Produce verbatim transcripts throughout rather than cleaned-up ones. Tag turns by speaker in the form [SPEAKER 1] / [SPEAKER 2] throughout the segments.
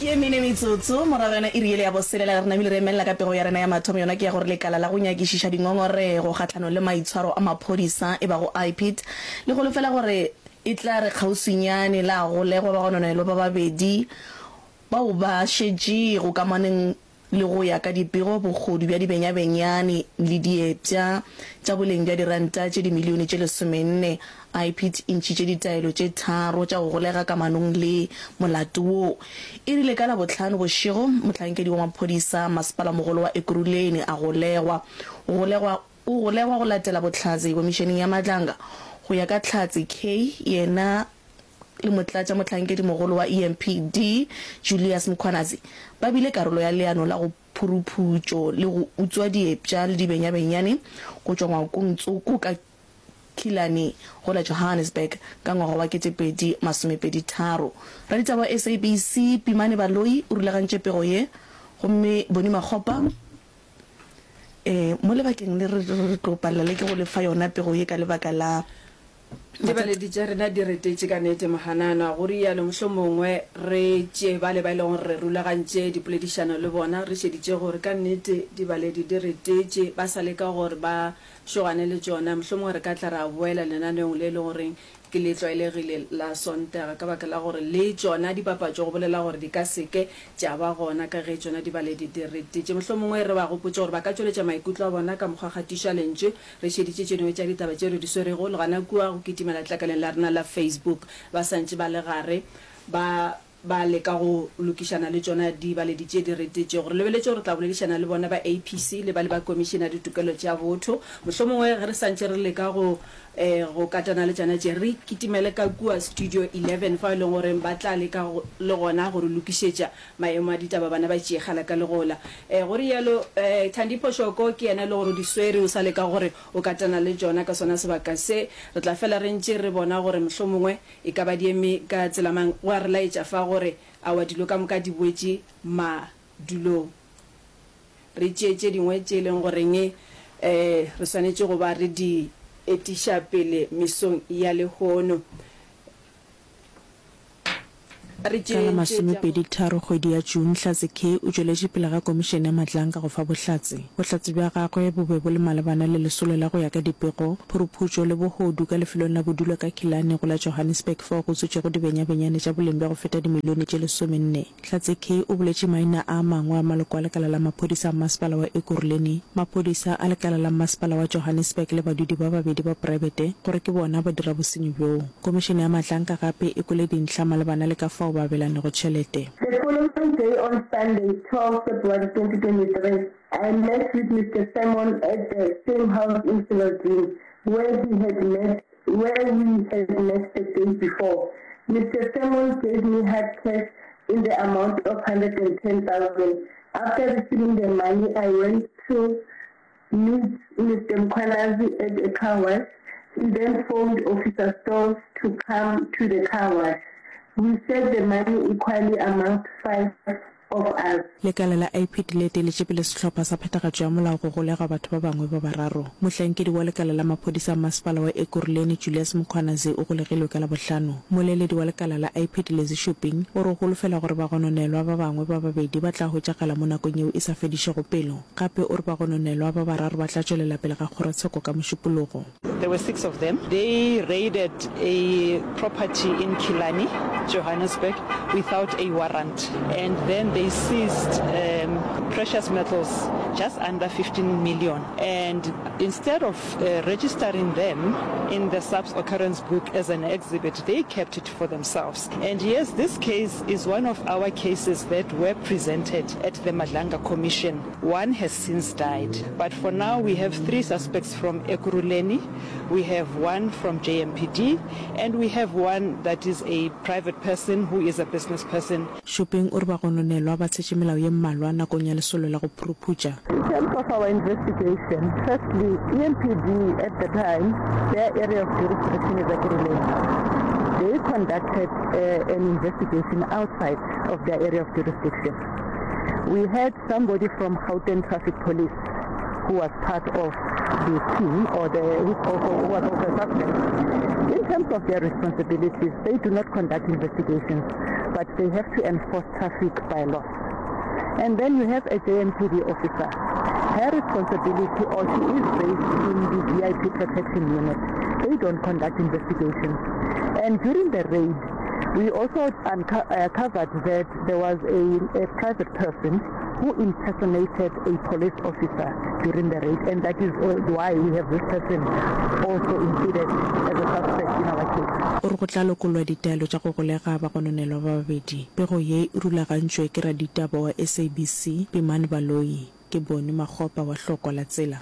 [SPEAKER 1] Ke ye mene metsotso morago yona iri yele ya boselela, re namile re emelela ka pego ya rena ya mathomo. Yona ke ya gore lekala la go nyakišiša dingongorego kgahlanong le maitshwaro a maphodisa e bago I P I D le holofela gore e tla re kgauswinyane la golegwa bagononelwa ba babedi bao ba šetšego kamanong le, go ya ka dipego, bohodu bja dibenyabenyane le diepša tša boleng bja diranta tše dimilione tše lesomenne. I P I D e ntšhitše ditaelo tše tharo tša go golega kamanong le molato wo. E rile ka Labohlano bošego mohlankedi wa maphodisa masepala mogolo wa Ekurhuleni a golegwa. O golegwa o golegwa go latela bohlatse komišeneng ya Madlanga. Go ya ka Hlatse K, yena le motlatša mohlankedi mogolo wa E M P D Julius Mkhwanazi ba bile karolo ya leano la go phuruphutšo le go utswa diepša le dibenyabenyane go tšwa ngwakong tsoko ka Killarney go la Johannesburg ka ngwaga wa ketepedi masomepedi tharo. Raditaba wa S A B C Pimane Baloyi o rulagantše pego ye, gomme Boni Makgopa um mo lebakeng le re re tlo palela le ke go lefa yona pego ye ka lebaka la
[SPEAKER 2] Dibaledi tša rena di retetše ka nnete mohanana, go rialo mohlomongwe re tšee bale ba e lego gore re rulagantše dipoledišano le bona, re šeditše gore ka nnete dibaledi di retetše, ba sa leka gore ba šogane le tšona. Mohlomongwe re ka tla ra boela lenaneong le e leng goreng ke le tlwaelegile la Sontaga, ka baka la gore le tšona dipapatšo go bolela gore di ka seke tša ba gona ka ge tšona dibaledi di retetše. Mohlomongwe re ba gopotše gore ba ka tšweletša maikutlo a bona ka mokgwa kgatišo ya lentšu, re šeditše tše dingwe tša ditaba tše re di swerego le gona kua go kitimela tlakaleng la rena la Facebook. Ba santše ba le gare ba ba leka go lokišana le tšona dibaledi tše di retetšego. Re lebeletše gore re tla boledišana le bona ba A P C le ba le ba Komišene ya Ditokelo tša Botho. Mohlomongwe ge re santše re leka go um go katana le tšona tše, re kitimele ka kua Studio eleven fao e leng gore ba tla leka le gona go re lokišetša maemo a ditaba, bana ba tšeegela ka legola. um Go rialo um Thandi Phoshoko ke yena e le gore o di swere, o sa leka gore o katana le tšona ka sona sebaka se. Re tla fela re ntše re bona gore mohlomongwe e ka ba di eme ka tsela mang. Go a re laetša fa gore aowa dilo ka moka di boetše madulong. Re tšee tše dingwe tše e leng goreng um re swanetše go ba re di etiša pele mesong ya lehono. Re
[SPEAKER 3] Ka la
[SPEAKER 2] tšee tše tša go
[SPEAKER 3] masomepedi tharo kgwedi ya June, Hlatse K o tšweletše pele ga komišene ya Madlanga go fa bohlatse. Bohlatse bja gagwe bo be bo le malebana le lesolo la go ya ka dipego, phuruputšo le bohodu ka lefelong la bodulo ka Killarney go la Johannesburg fao go utswitšego dibenyabenyane tša boleng bja go feta dimilione tše lesomenne. Hlatse K o boletše maina a mangwe a maloko a lekala la maphodisa a masepala wa Ekurhuleni, maphodisa a lekala la masepala wa Johannesburg le badudi ba babedi ba poraebete gore ke bona ba dira bosenyi bjoo. Komišene ya Madlanga gape e kwele dintlha malebana le ka fao ba abelanego tšhelete.
[SPEAKER 4] The following day, on Sunday, twelve February twenty twenty-three, I met with Mister Simon at the same house in Cyrildene where he had met where we had met the day before. Mister Simon gave me hard cash in the amount of one hundred ten thousand. After receiving the money, I went to meet Mister Mkhwanazi at a car wash. He then phoned Officer Stolz to come to the car wash. We shared the money equally amongst five of us.
[SPEAKER 3] Lekala la I P D le eteletše pele sehlopha sa phethagatšo ya molao go golega batho ba bangwe ba bararo. Mohlankedi wa lekala la maphodisa a masepala wa Ekurhuleni Julius Mkhwanazi o golegilwe ka Labohlano. Moleledi wa lekala la I P D Lizzy Shuping o re o holofela gore bagononelwa ba bangwe ba babedi ba tla hwetšagala mo nakong yeo e sa fedišego pelo. Gape o re bagononelwa ba bararo ba tla tšwelela pele ga kgorotsheko ka Mošupologo.
[SPEAKER 5] There were six of them. They raided a property in Killarney, Johannesburg, without a warrant. And then they seized um, precious metals just under fifteen million. And instead of uh, registering them in the SAPS occurrence book as an exhibit, they kept it for themselves. And yes, this case is one of our cases that were presented at the Madlanga Commission. One has since died. But for now, we have three suspects from Ekurhuleni, we have one from J M P D, and we have one that is a private person who is a business person.
[SPEAKER 3] Shuping o re bagononelwa ba tshetše melao ye mmalwa nakong ya lesolo la go phuruphutša.
[SPEAKER 4] In terms of our investigation, firstly, E M P D at the time, their area of jurisdiction is Ekurhuleni. They conducted uh, an investigation outside of their area of jurisdiction. We had somebody from Gauteng Traffic Police who was part of the team, or the who also, who was also a suspect. In terms of their responsibilities, they do not conduct investigations.
[SPEAKER 6] but they have to enforce traffic bylaws. And then you have a J M P D officer. Her responsibility, or she is based in the V I P protection unit. They don't conduct investigations. And during the raid, we also unco-, uh, uncovered that there was a, a private person who impersonated a police officer during the raid, and that is why we have this person also included as a suspect in our case.
[SPEAKER 3] O re go tla lokollwa ditaelo tša go golega bagononelwa ba babedi. Pego ye e rulagantšwe ke raditaba wa S A B C, Pimane Baloyi. Ke Boni Makgopa wa Hlokwa la Tsela.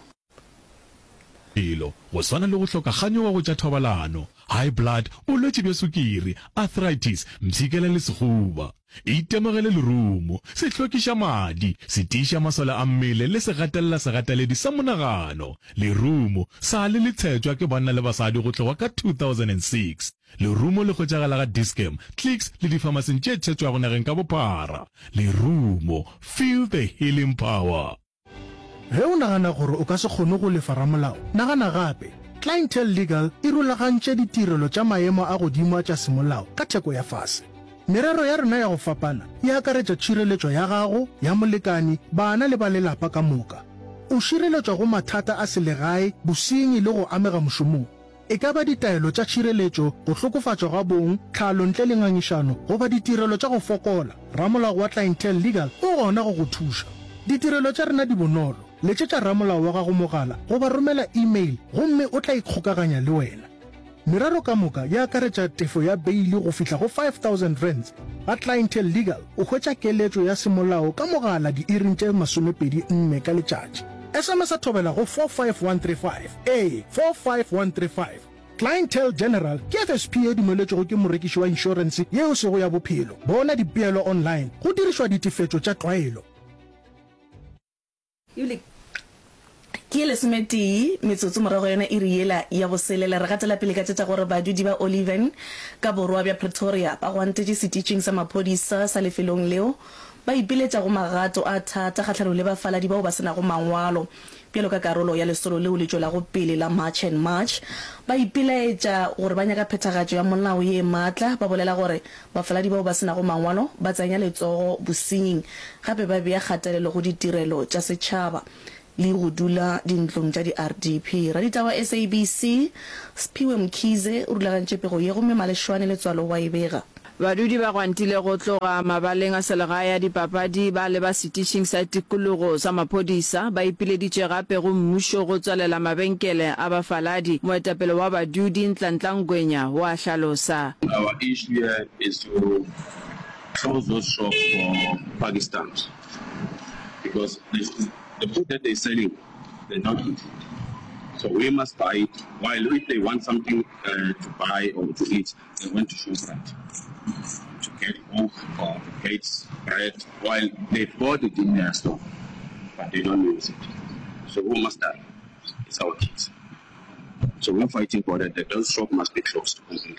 [SPEAKER 7] Dilo go swana le go hloka kganyogo go tša thobalano, high blood, bolwetši bja sukiri, arthritis, mpshikela le sehuba. Itemogele lerumo, se hlwekiša madi, se tiiša masole a mmele le se gatelela segateledi sa monagano. Lerumo sa le le tshetšwa ke banna le basadi go tloga ka two thousand six. Lerumo le hwetšagala ga Dis-Chem, Clicks le difamasing tše tshetšwago nageng ka bophara. Lerumo, feel the healing power.
[SPEAKER 8] Ge o nagana gore o ka se kgone go lefa ramolao, nagana gape. Clientele Legal e rulagantše ditirelo tša maemo a godimo a tša semolao ka theko ya fase. Merero ya rena ya go fapana e akaretša tšhireletšo ya gago, ya molekani, bana le ba lelapa ka moka. O šireletšwa go mathata a selegae, bosenyi le go amega mošomong. E ka ba ditaelo tša tšhireletšo, go hlokofatšwa ga bong, tlhalo ntle le ngangišano, goba ditirelo tša go fokola, ramolao wa Clientele Legal o gona go go thuša. Ditirelo tša rena di bonolo. Letšetša ramolao wa gago mogala goba romela email gomme o tla ikgokaganya le wena. Merero ka moka e akaretša tefo ya beili go fihla go five thousand rands. Ga Clientele Legal o hwetša keletšo ya semolao ka mogala diiring tše masomepedi nne ka letšatši. S M S a thobela go four five one three five. Ee, four five one three five. Clientele General ke F S P e dumeletšwego ke morekiši wa inšorense yeo sego ya bophelo. Bona dipeelo online go dirišwa ditefetšo tša tlwaelo.
[SPEAKER 2] Ebile
[SPEAKER 1] ke lesometee metsotso morago yona iri yela ya boselela. Re gatela pele ka tše tša gore badudi ba Oliven ka borwa bja Pretoria ba gwantetše setitšing sa maphodisa sa lefelong leo ba ipiletša go magato a thata kgahlanong le bafaladi bao ba se nago mangwalo bjalo ka karolo ya lesolo leo le tšwelago pele la March and March. Ba ipilaetša gore ba nyaka phethagatšo ya molao ye maatla, ba bolela gore bafaladi bao ba se nago mangwalo ba tsenya letsogo bosenying gape ba bea kgatelelo go ditirelo tša setšhaba le go dula dintlong tša di-R D P. Raditaba S A B C Sphiwe Mkhize o rulagantše pego ye gomme Maleshwane Letswalo wa e bega.
[SPEAKER 2] Badudi ba gwantile go tloga mabaleng a selegae a dipapadi ba leba setišing sa tikologo sa maphodisa. Ba ipileditše gape go mmušo go tswalela mabenkele a bafaladi. Moetapele wa badudi Ntlantla Ngwenya o a hlalosa.
[SPEAKER 9] Our issue here is to close those shops for Pakistanis because the, the food that they're selling, they don't eat it. So we must buy it, while if they want something, uh, to buy or to eat, they went to Shoprite to get milk or to get bread, while they bought it in their store, but they don't use it. So who must die? It's our kids. So we're fighting for that, that those shops must be closed completely.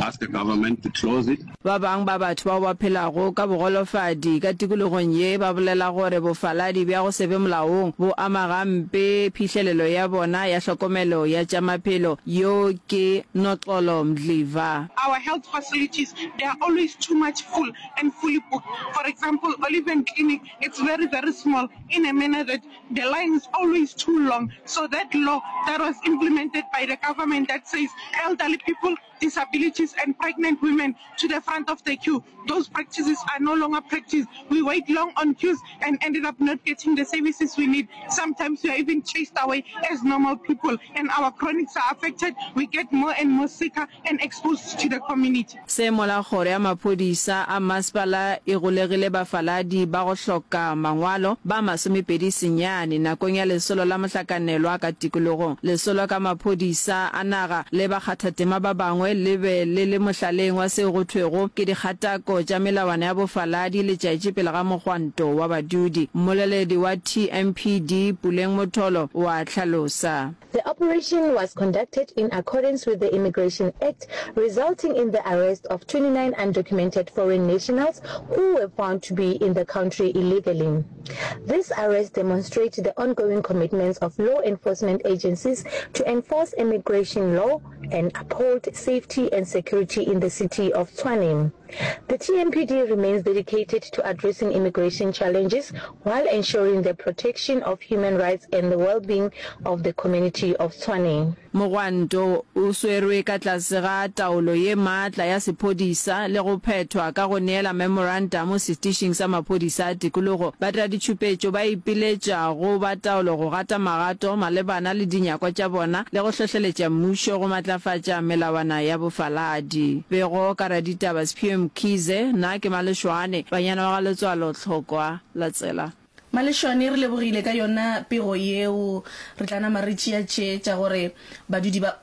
[SPEAKER 9] Ask the government to close it.
[SPEAKER 2] Ba bang ba batho bao ba phelago ka bogolofadi ka tikologong ye ba bolela gore bofaladi bja go se be molaong bo ama gampe phihlelelo ya bona ya hlokomelo ya tša maphelo. Yo ke Noxolo Mdliva.
[SPEAKER 10] Our health facilities, they are always too much full and fully booked. For example, Oliven Clinic, it's very, very small in a manner that the line is always too long. So that law that was implemented by the government that says elderly people, disabilities and pregnant women to the front of the queue, those practices are no longer practiced. We wait long on queues and ended up not getting the services we need. Sometimes we are even chased away as normal people, and our chronics are affected. We get more and more sicker and exposed to the community.
[SPEAKER 2] Se mola kgoro ya maphodisa a masepala e golegile bafaladi ba go hloka mangwalo ba masomepedi senyane nakong ya lesolo la mohlakanelwa ka tikologong. Lesolo ka maphodisa a naga le bakgathatema ba bangwe le be le le mohlaleng wa seo go thwego ke dikgatako tša melawana ya bofaladi letšatši pele ga mogwanto wa badudi. Mmoleledi wa T M P D Puleng Motholo o a hlalosa.
[SPEAKER 11] The operation was conducted in accordance with the Immigration Act, resulting in the arrest of twenty-nine undocumented foreign nationals who were found to be in the country illegally. This arrest demonstrates the ongoing commitments of law enforcement agencies to enforce immigration law and uphold safety and security in the city of Tshwane. The T M P D remains dedicated to addressing immigration challenges while ensuring the protection of human rights and the well-being of the community of Tshwane.
[SPEAKER 2] Mogwanto o swerwe ka tlase ga taolo ye maatla ya sephodisa le go phethwa ka go neela memorantamo setišing sa maphodisa a tikologo. Badiraditšhupetšo ba ipiletša go ba taolo go gata magato malebana le dinyakwa tša bona le go hlohleletša mmušo go matlafatša melawana ya bofaladi. Pego ka raditaba Sphiwe Mkhize, Nna ke Maleshwane, banyana wa ga Letswalo Tlhokwa la Tsela.
[SPEAKER 1] Maleshwane, Re lebogile ka yona pego yeo. Re tla nama re tšea tše tša gore badudi ba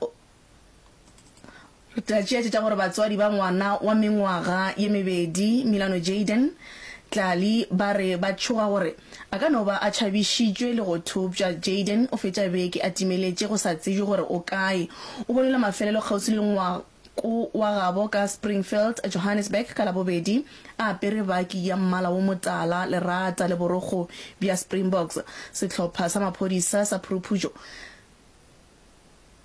[SPEAKER 1] Re tla tšea tše tša gore batswadi ba ngwana wa mengwaga ye mebedi, Milano Jayden Tlali, ba re ba tšhoga gore a ka no ba a tšhabišitšwe le go thopša. Jayden o fetša beke a timeletše go sa tsebje gore o kae. O bonwe la mafelelo kgauswi le ngwako wa gabo ka Springfield, Johannesburg ka Labobedi a apere baki ya mmala wo motala, lerata le borokgo bja Springboks. Sehlopha sa maphodisa sa phuruphutšo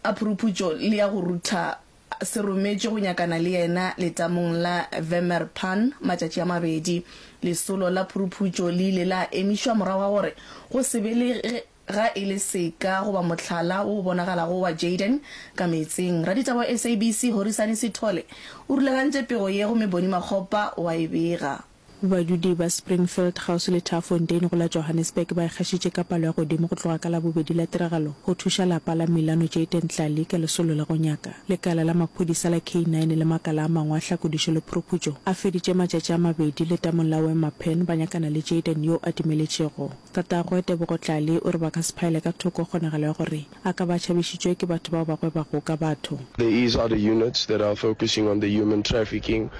[SPEAKER 1] a phuruphutšo le ya go rutha se rometšwe go nyakana le yena letamong la Wemmerpan matšatši a mabedi. Lesolo la phuruphutšo le ile la emišwa morago ga gore go se be le ge ga e le seka goba mohlala wo o bonagalago wa Jayden ka meetseng. Raditaba wa S A B C Horisani Sithole o rulagantše pego ye gomme Bonnie Makgopa o a e bega.
[SPEAKER 3] Badudi ba Springfield kgauswi le Turffontein go la Johannesburg ba ikgašitše ka palo ya godimo go tloga ka Labobedi la tiragalo go thuša lapa la Milano Jayden Tlali ka lesolo la go nyaka. Lekala la maphodisa la K nine le makala a mangwe a hlakodišo le phuruphutšo a feditše matšatši a mabedi letamong la Wemmerpen ba nyakana le Jayden yo a timeletšego. Tatagwe, Tebogo Tlali, o re ba ka se phaele ka thoko kgonagalo ya gore a ka ba a tšhabišitšwe ke batho bao ba gwebago ka batho.
[SPEAKER 12] There is other units that are focusing on the human trafficking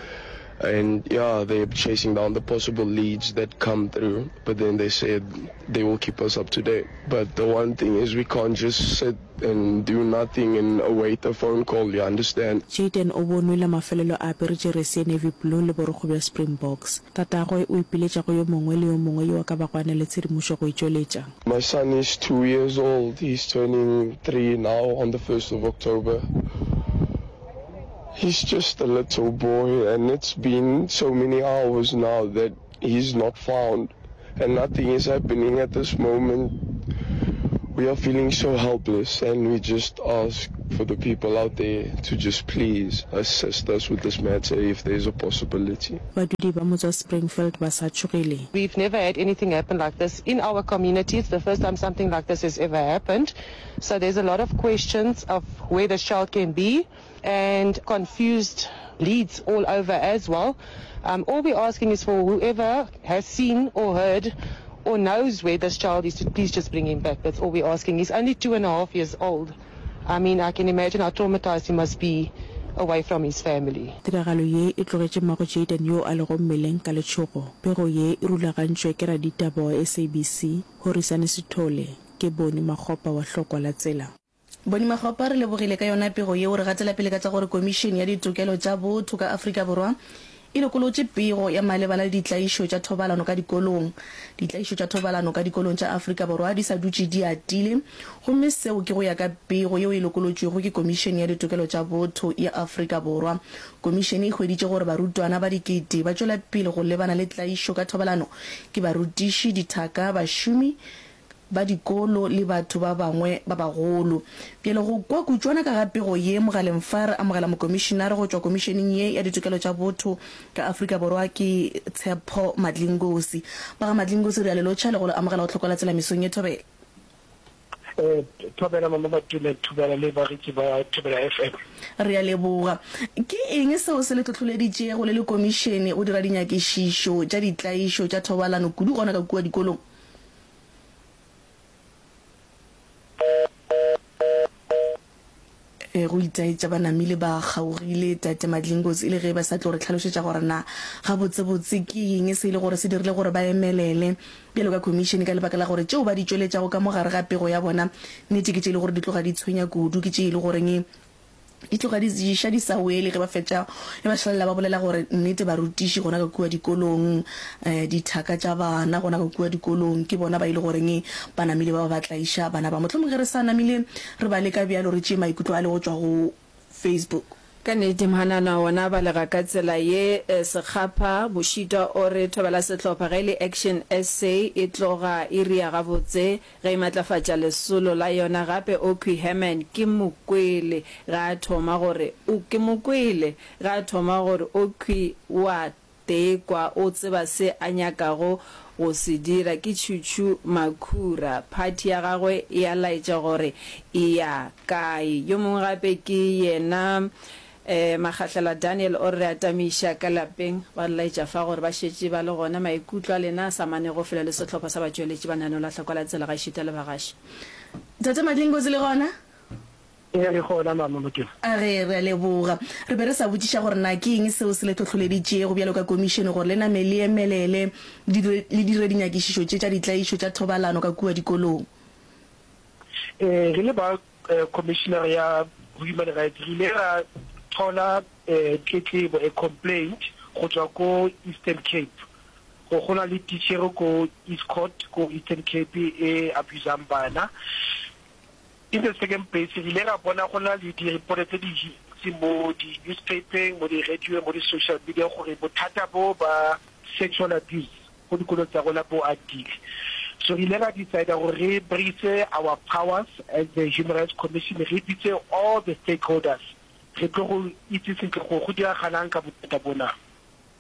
[SPEAKER 12] and yeah, they're chasing down the possible leads that come through, but then they said they will keep us up to date. But the one thing is we can't just sit and do nothing and await a phone call, you understand?
[SPEAKER 3] Jayden o bonwe la mafelelo a apere jeresi ya navy blue le borokgo bja Springboks. Tatagwe o ipiletša go yo mongwe le yo mongwe yo a ka bago a na le tshedimošo go e tšweletša.
[SPEAKER 12] My son is two years old, he's turning three now on the first of October. He's just a little boy and it's been so many hours now that he's not found and nothing is happening at this moment. We are feeling so helpless and we just ask for the people out there to just please assist us with this matter if there's a possibility.
[SPEAKER 3] Badudi ba motse wa Springfield ba sa tšhogile.
[SPEAKER 13] We've never had anything happen like this in our community. It's the first time something like this has ever happened. So there's a lot of questions of where this child can be and confused leads all over as well. Um, all we're asking is for whoever has seen or heard or knows where this child is to please just bring him back. That's all we're asking. He's only two and a half years old. I mean, I can imagine how traumatized he must be away from his family.
[SPEAKER 3] Tiragalo ye e tlogetše mmago Jayden yo a lego mmeleng ka letšhogo. Pego ye e rulagantšwe ke raditaba wa S A B C, Horisani Sithole, ke Boni Makgopa wa Hlokwa la Tsela.
[SPEAKER 1] Boni Makgopa, re lebogile ka yona pego yeo. Re gatela pele ka tša gore Komišene ya Ditokelo tša Botho ka Afrika Borwa e lokolotše pego ya malebana le ditlaišo tša thobalano ka dikolong. Ditlaišo tša thobalano ka dikolong tša Afrika Borwa di sa dutše di atile gomme seo ke go ya ka pego yeo e lokolotšwego ke Komišene ya Ditokelo tša Botho ya Afrika Borwa. Komišene e hweditše gore barutwana ba dikete ba tšwela pele go lebana le tlaišo ka thobalano ke barutiši, dithaka, bašomi ba dikolo le batho ba bangwe ba bagolo. Bjale go kwa kutšwana ka ga pego ye mogaleng fa re amogela mokomišinare go tšwa Komišeneng ye ya Ditokelo tša Botho ka Afrika Borwa ke Tshepo Madlingozi. Ba ga Madlingozi re a le lotšha le go le amogela go Tlhokola Tsela mesong ye Thobela.
[SPEAKER 14] Thobela Mama Matule, Thobela le bagetši ba Thobela F M.
[SPEAKER 1] Re a leboga. Ke eng seo se le hlohloleditšego le le komišene go dira dinyakišišo tša ditlaišo tša thobalano kudu gona ka kua dikolong? Go itaetša ba namile ba kgaogile Tate Madlingozi e le ge ba sa tlo re hlalošetša gore na gabotsebotse ke eng se e le gore se dirile gore ba emelele bjalo ka khomišene ka lebaka la gore tšeo ba di tšweletšago ka mo gare ga pego ya bona nnete ke tše e le gore di tloga di tshwenya kudu ke tše e le goreng di tloga di ješa di sa wele ge ba fetša ge ba šalela ba bolela gore nnete barutiši gona ka kua dikolong um dithaka tša bana gona ka kua dikolong ke bona ba e le goreng ba namile ba ba ba tlaiša bana ba. Mohlomong ge re sa namile re ba leka bjalo re tšee maikutlo a le go tšwa go Facebook.
[SPEAKER 2] Ka nnete mhanana wona a balega ka tsela ye, Sekgapha Bošitwa o re thobela sehlopha ge e le Action SA e tloga e ria gabotse ge e matlafatša lesolo la yona gape Okhwi Herman ke mo kwele ge a thoma gore o ke mo kwele ge a thoma gore Okhwi o a Tekwa o tseba se a nyakago go se dira. Ke Tšhutšhu Makhura. Phathi ya gagwe e a laetša gore e ya kae. Yo mongwe gape ke yena Makgahlela Daniel o re re atamiša ka lapeng. Ba re laetša fa gore ba šetše ba le gona. Maikutlo a lena a sa manego felo le sehlopha sa batšweletši ba lenaneo la Hlokwa la Tsela gaešita le bagaši.
[SPEAKER 1] Tate Madlingozi le gona?
[SPEAKER 14] Ee, re gona, Mama Mokema.
[SPEAKER 1] A re, Re a leboga. Re be re sa botšiša gore na ke eng seo se le hlohloleditšego bjalo ka komišene gore le name le emelele le dire dinyakišišo tše tša ditlaišo tša thobalano ka kua dikolong.
[SPEAKER 14] Ee, re le ba Khomišinare ya Human Rights re ile ra thola tletlebo, a complaint, go tšwa ko Eastern Cape gore go na le titšhere ko Estcourt ko Eastern Cape e abusang bana. In the second place, re ile ra bona go na le di-report tse dintsi mo di-newspaper-eng, mo di-radio-eng, mo di-social media gore bothata bo ba sexual abuse ko dikolong tsa rona bo atile. So re ile ra decide-a gore re brace our powers as the Human Rights Commission, re bitse all the stakeholders re tlo go itse sentle gore go diragalang ka bothata bona.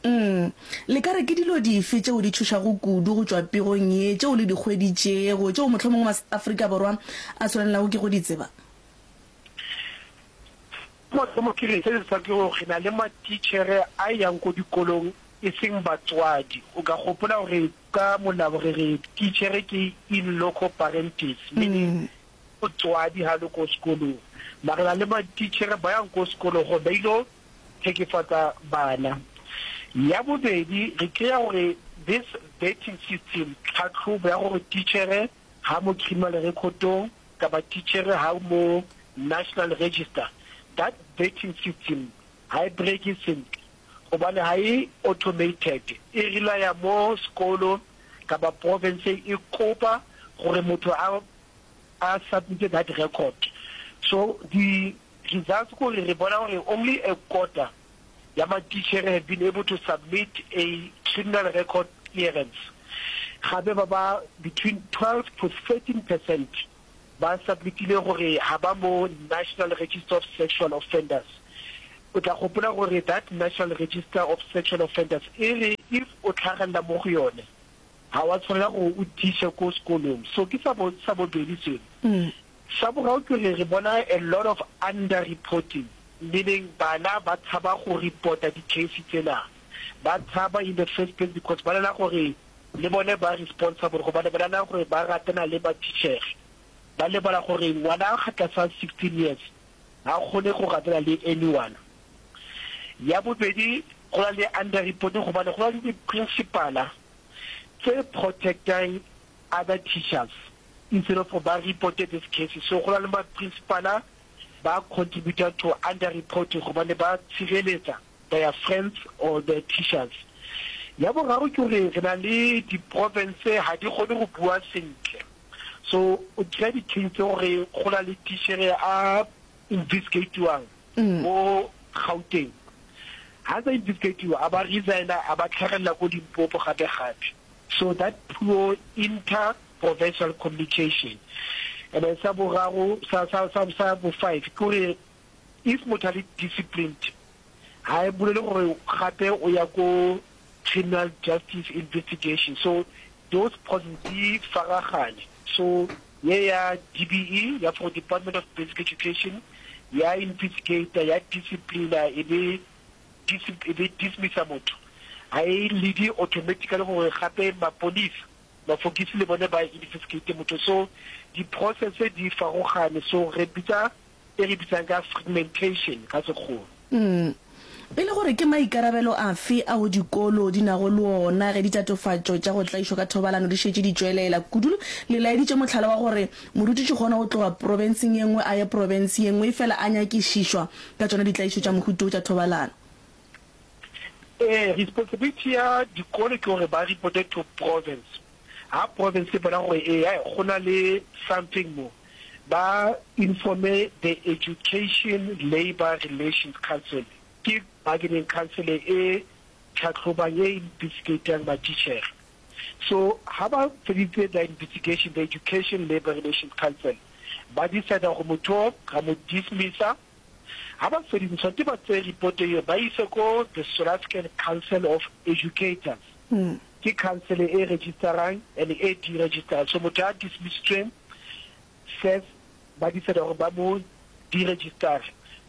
[SPEAKER 1] Umm. Le ka re ke dilo dife tšeo di tšhošago kudu go tšwa pegong ye tšeo le di hweditšego, tšeo mohlomongwe ma-Afrika Borwa a swanelago ke go di tseba?
[SPEAKER 14] Mathomo ke re se se sa ke gore re na le matitšhere a yang ko dikolong e seng batswadi. O ka gopola gore ka molao re re titšhere ke in loco parentis, meaning motswadi ha le ko sekolong. Mara re na le matitšhere ba yang ko sekolong gore ba ilo tlhekefatsa bana. Ya bobedi, re kry-a gore this vetting system, tlhatlhobo ya gore titšhere ha mo criminal record-ong kapa titšhere ha mo national register, that vetting system ha e bereke sentle gobane ha e automated, e relaya mo sekolo kapa province e kopa gore motho a a submit that record. So di Results ke gore re bona gore only a quarter ya matitjhere have been able to submit a criminal record clearance. Gape ba ba between twelve to thirteen percent ba submitile gore ha ba mo National Register of Sexual Offenders. O tla gopola gore that National Register of Sexual Offenders e re if o tlhagelela mo go yone ha wa tshwanela gore o teache ko sekolong. So ke sa bo sa bobedi seno. Sa boraro ke gore re bona a lot of under reporting, meaning bana ba tshaba go reporta di case tsena. Ba tshaba in the first place because ba nahana gore le bone ba responsible gobane ba nahana gore ba ratana le matichere. Ba lebala gore ngwana ga tlasa sixteen years ha kgone go ratana le anyone. Ya bobedi go na le under reporting gobane go na le di principala tse protectang other teachers. Instead of ba reporte this cases so go na le ma principala ba contributor to under reporting gobane ba tshireletsa their friends or their teachers. Ya boraro ke gore re na le di province ha di kgone go bua sentle so o kry-a di case tse gore go na le tichere a investigatiwang mo Gauteng ha ntse a investigatiwa a ba resigna a ba tlhagelela ko Limpopo gape gape so that poor inter provincial communication. And then sa boraro, sa, sa, sa, sa bo five, ke gore if motho a le disciplined, ha e bolele gore gape o ya ko criminal justice investigation. So those processes di faragane. So ye ya D B E, ya for Department of Basic Education, ya investigate, ya disciplina, e be e be dismissa motho. Ha e lead automatically gore gape maponisa Mafokisi le bone ba investigate motho so di process di farogane so re bitsa e re bitsang ka fragmentation ka sekgowa.
[SPEAKER 1] Mm. E le gore ke maikarabelo afe ao dikolo di nago le ona ge ditatofatšo tša go tlaišwa ka thobalano di šetše di tšwelela? Kudu le laeditše mohlala wa gore morutiši kgona go tloga profenseng ye nngwe a ye profense ye nngwe efela a nyakišišwa ka tšona ditlaišo tša mohuta wo tša thobalano.
[SPEAKER 14] Ee, responsibility ya dikolo ke gore ba reporte to province. Ha province e bona gore ee go na le something mo, Ba informe the Education Labour Relations Council, ke bargaining council e tlhahlobang, e investigatang matitjhere. So ha ba feditse their investigation, the Education Labour Relations Council, ba decide gore motho o ra mo dismissa. Ha ba feditse, tshwanetse ba tseye report eo ba ise ko the South African Council of Educators. Ke council e registerang and e deregisterang. So motho a dismissitsweng first ba decide gore ba mo deregistere.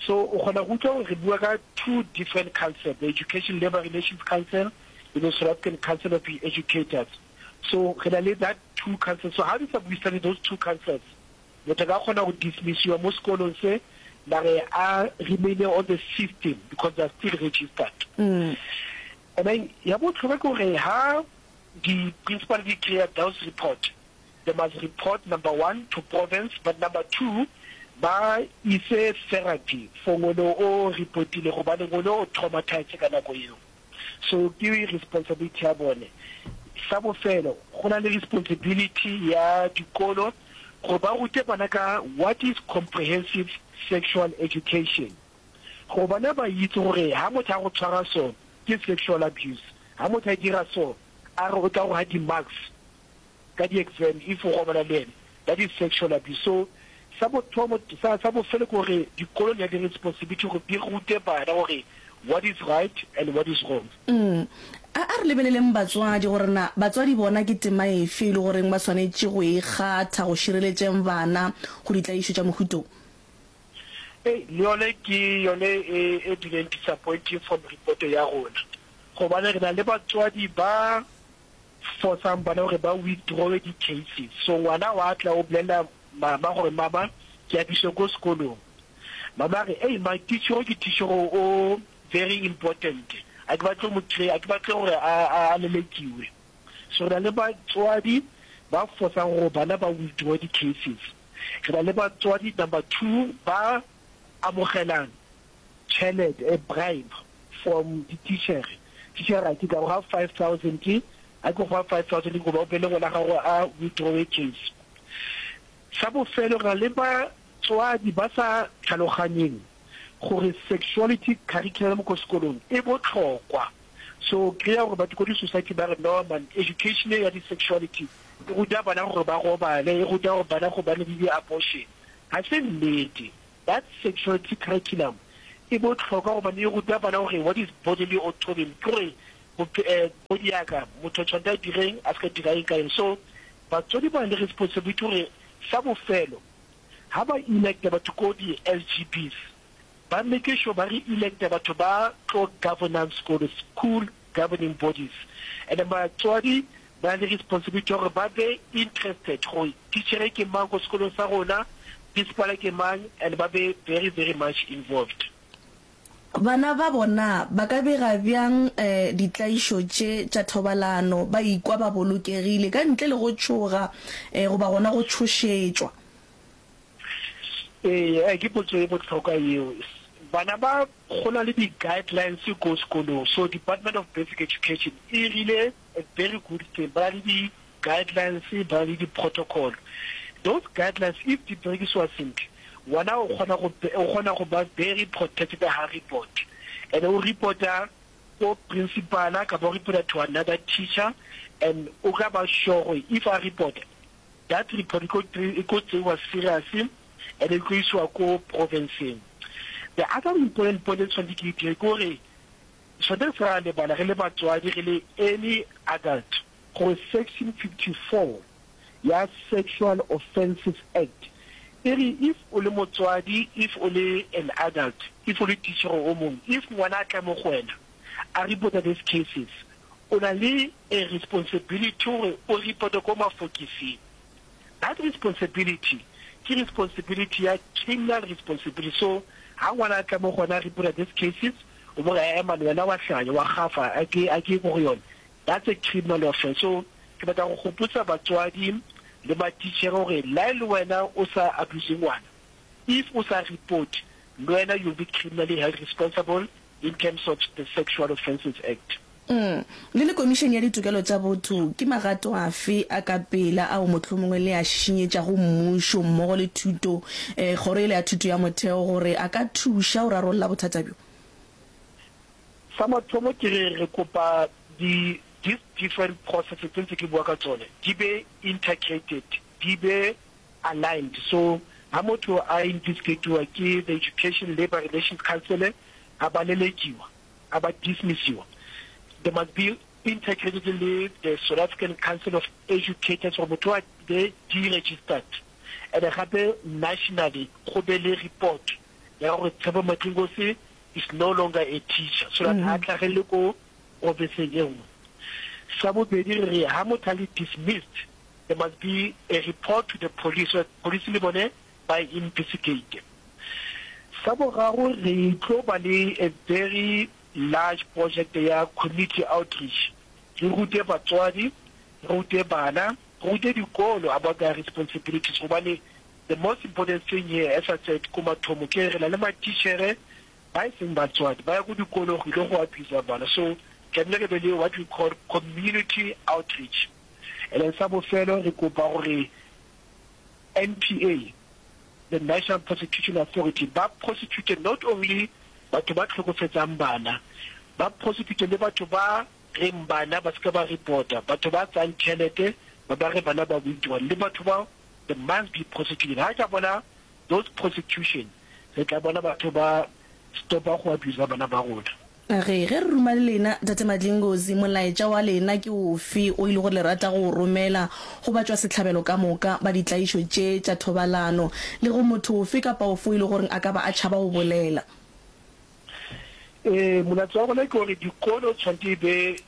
[SPEAKER 14] So o kgona go utlwa gore re bua ka two different council, the Education Labour Relations Council le the South African Council of Educators. So re na le that two councils. So ha di sa buisane those two councils, motho a ka kgona go dismissiwa mo sekolong se mare a remain on the system because they are still registered. And then ya botlhokwa ke gore ha di-principal di kry-a those report, they must report number one to province, but number two ba ise therapy for ngwana o reportile gobane ngwana o traumatized ka nako eo. So ke responsibility ya bone. Sa bofelo, go na le responsibility ya dikolo gore ba rute bana ka what is comprehensive sexual education. Gore bana ba itse gore ha motho a go tshwara so ke sexual abuse, ha motho a dira so a re o tla go ha di-marks ka di-exam if o robala le ene, that is sexual abuse. So sa bothomo sa sa bofelo ke gore dikolo di na le responsibility gore di rute bana gore what is right and what is wrong.
[SPEAKER 1] Mm. A a re lebeleleng batswadi gore na batswadi bona ke tema efe e le goreng ba swanetše go e kgatha go šireletšeng bana go ditlaišo tša mohuta wo.
[SPEAKER 14] Ei, le yone ke yone e e bileng disappointing from report ya rona, gobane re na le batswadi ba forcang bana gore ba withdrawe di-cases. So ngwana wa tla o bolelela mama gore mama ke a biswa ko sekolong, mama a re ei ma teacher ke teacher o very important, a ke batle mo a ke batle gore a a lelekiwe. So re na le batswadi ba forcang gore bana ba withdraw di-cases. Re na le batswadi number two ba amogelang tšhelete, a bribe from di-teacher. Teacher a ke ka go ga five thousand, a ke go fa five thousand goba o bele ngwana gago a withdraw case. Sa bofelo, re na le batswadi ba sa tlhaloganyeng gore sexuality curriculum ko sekolong e botlhokwa. So kry-a gore batho ko di-society ba re no man, education ya di-sexuality e ruta bana gore ba robale, e ruta gore bana go bane le di-abortion. Ga se nnete. That sexuality curriculum e botlhokwa gobane e ruta bana gore what is bodily autonomy, ke gore body ya ka motho o tshwanetse a direng a se ka dira eng ka eng. So batswadi ba na le responsibility gore sa bofelo ha ba electa batho ko di-S G Bs, ba make sure ba re electa batho ba tlo governance sekolo, school governing bodies. And then batswadi ba na le responsibility ya gore ba be interested gore teacher ke mang ko sekolong sa rona, principal ke mang, and ba be very very much involved.
[SPEAKER 1] Bana ba bona ba ka bega bjang um ditlaišo tše tša thobalano ba ikwa ba bolokegile ka ntle le go tšhoga um goba gona go tšhošetšwa?
[SPEAKER 14] Ee, ke potso e botlhokwa eo. Bana ba go na le di-guidelines ko sekolong. So Department of Basic Education e rile a very good thing, ba na le di-guidelines, ba na le di-protocol. Those guidelines if di berekisiwa sentle, ngwana o kgona go o kgona go ba very protected ha report, and o reporta ko principal kapa o reporta to another teacher, and o ka ba sure gore if a report, that report e ko tseiwa serious and e tlo isiwa ko provinceng. The other important point e tshwanetse ke dire ke gore tshwanetse re sa lebala re le batswadi, re le any adult, gore section fifty-four ya Sexual Offences Act e re if o le motswadi, if o le an adult, if o le teacher o mongwe, if ngwana a tla mo go wena a reporta these cases, o na le a responsibility gore o reporte ko mafokising. That responsibility ke responsibility ya criminal responsibility. So ha ngwana a tla mo go wena a reporta these cases, o bo re ema wena wa hlanya wa gafa a ke a ke go yone, that's a criminal offense. So ke batla go gopotsa batswadi le matitjhere gore la e le wena o sa abuse ngwana, if o sa report, le wena you'll be criminally held responsible in terms of the Sexual Offences Act.
[SPEAKER 1] Mm. Le le Komišene ya Ditokelo tša Botho, ke magato afe a ka pela ao mohlomongwe le a šišinyetšago mmušo mmogo le thuto, eh, kgoro yela ya thuto ya motheo gore a ka thuša go rarolla bothata bjo?
[SPEAKER 14] Sa mathomo ke re re kopa di these different processes tse ntse ke bua ka tsone di be integrated, di be aligned. So ha motho a investigatiwa ke the Education Labour Relations Council a ba lelekiwa, a ba dismissiwa, they must be integrated le the South African Council of Educators gore motho a be deregistered. And gape nationally go be le report ya gore Tshepo Matlingosi is no longer a teacher so that ha tlhagelele ko ofising e nngwe. Sa bobedi re re ha motho a le dismissed there must be a report to the police so that police le bone ba investigate. Sa boraro re tlo ba le a very large project ya community outreach, re rute batswadi, re rute bana, re rute dikolo about their responsibilities gobane the most important thing here as I said ko mathomo ke re na le matitjhere ba e seng batswadi ba ya ko dikolong go ile go abuser bana so tlamehile re be le what we call community outreach. And then sa bofelo re kopa gore N P A, the National Prosecution Authority, ba prosecute not only batho ba tlhokofetsang bana, ba prosecute le batho ba reng bana ba seka ba reporta, batho ba tsayang tšhelete ba ba re bana ba withdraw, le batho ba they must be prosecuted. Ha ka bona those prosecution, re tla bona batho ba stopa go abusa bana ba rona.
[SPEAKER 1] Ge, ge re ruma le lena, Tate Madlingozi, molaetša wa lena ke ofe o e le gore le rata go o romela go batšwasehlabelo ka moka ba ditlaišo tše tša thobalano le go motho ofe kapa ofe o e le goreng a ka ba a tšhaba go bolela?
[SPEAKER 14] Ee, molaetša wa rona ke gore dikolo tshwanetse e be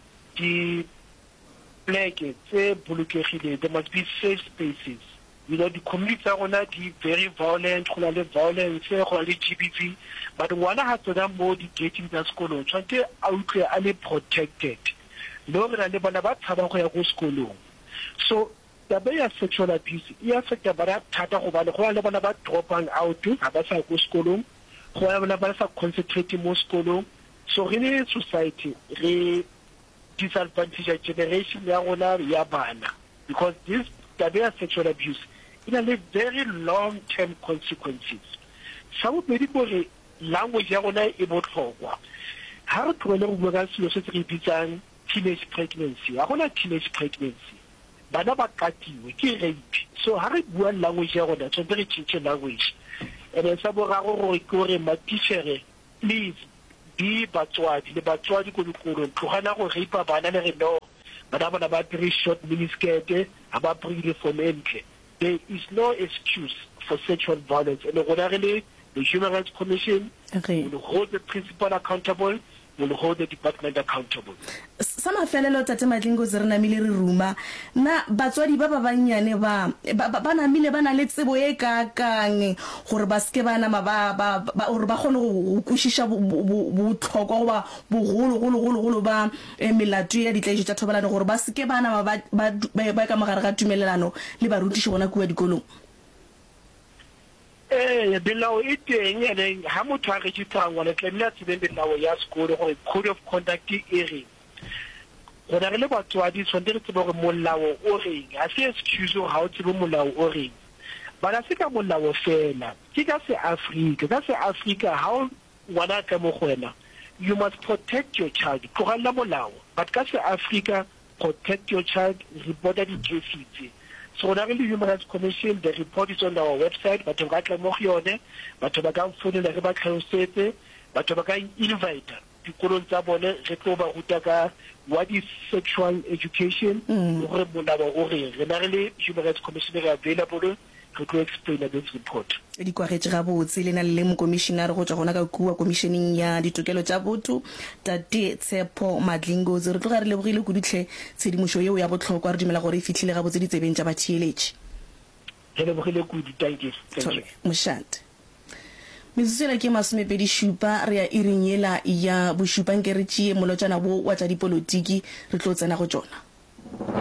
[SPEAKER 14] dipleke tse bolokegileng, there must be safe spaces. You know, di-community tsa rona di very violent, go na le violence, go na le G B V, but ngwana ha tsena mo di-gating tsa sekolo tshwanetse a utlwe a le protected. Le gore re na le bana ba tshabang go ya ko sekolong. So taba ya sexual abuse e affecta bana thata gobane go na le bana ba dropang out, ga ba sa ya ko sekolong, go na le bana ba sa concentrate mo sekolong. So re le society re disadvantage generation ya rona ya bana because this taba ya sexual abuse e na le very long term consequences. Sa bobedi ke gore language ya rona e botlhokwa. Ha re tlogele go bua ka selo se se re bitsang teenage pregnancy, ga gona teenage pregnancy, bana ba katiwe ke rape. So ha re bua language ya rona tshwanetse re change language. And then sa boraro gore ke gore matitjhere, please be batswadi le batswadi ko dikolong, tlogela go rape bana le re no bana bona ba apere short miniskirt, ga ba apere uniform e ntle. There is no excuse for sexual violence, and rona re le the Human Rights Commission
[SPEAKER 1] Ge.
[SPEAKER 14] will hold the principal accountable, will hold the department accountable.
[SPEAKER 1] Sa mafelelo, Tate Madlingozi, re namile re ruma, na batswadi ba ba bannyane ba, ba, ba, ba namile ba na le tsebo e kaakang gore ba se ke ba nama ba, ba, ba, gore ba kgone go, go kwešiša bo, bo, bo, bohlokwa goba bogolo-golo-golo-golo ba eh, melato ya ditlaišo tša thobalano, gore ba se ke ba nama ba, ba, ba, ba ka mogare ga tumelelano le barutiši gona kua dikolong?
[SPEAKER 14] Ee, melao e teng, ene ha motho a registera ngwana tlamehile a tsebe melao ya sekolo gore code of conduct e reng. Rona re le batswadi tshwanetse re tsebe gore molao o reng, ga se excuse gore ga o tsebe molao o reng. But ha se ka molao fela, ke ka se Afrika, ka se Afrika ha o ngwana a tla mo go wena, you must protect your child, tlogella molao, but ka se Afrika protect your child, reporta di-case tse. So rona re le Human Rights Commission, the report is on our website, batho ba ka tla mo go yone, batho ba ka mfounela re ba tlhalosetse, batho ba ka invite dikolong tsa bone re tlo ba ruta ka what is sexual education le gore molao o reng. Rena re le Human Rights Commission re available, re tlo explaina this report.
[SPEAKER 1] Di kwagetše gabotse. Le na le mokomišinare go tšwa gona ka kua Komišeneng ya Ditokelo tša Botho, Tate Tshepo Madlingozi. Re tloga re lebogile kudu hle tshedimošo yeo ya bohlokwa. Re dumela gore e fihlile gabotse ditsebeng tša batheeletši.
[SPEAKER 14] Re lebogile kudu. Thank you. Thank you.
[SPEAKER 1] Thobela. Mošate. Metsotso yela ke masomepedi šupa, re ya iring yela ya bošupa. Nke re tšee molotšana wo wa tša dipolotiki, re tlo tsena go tšona.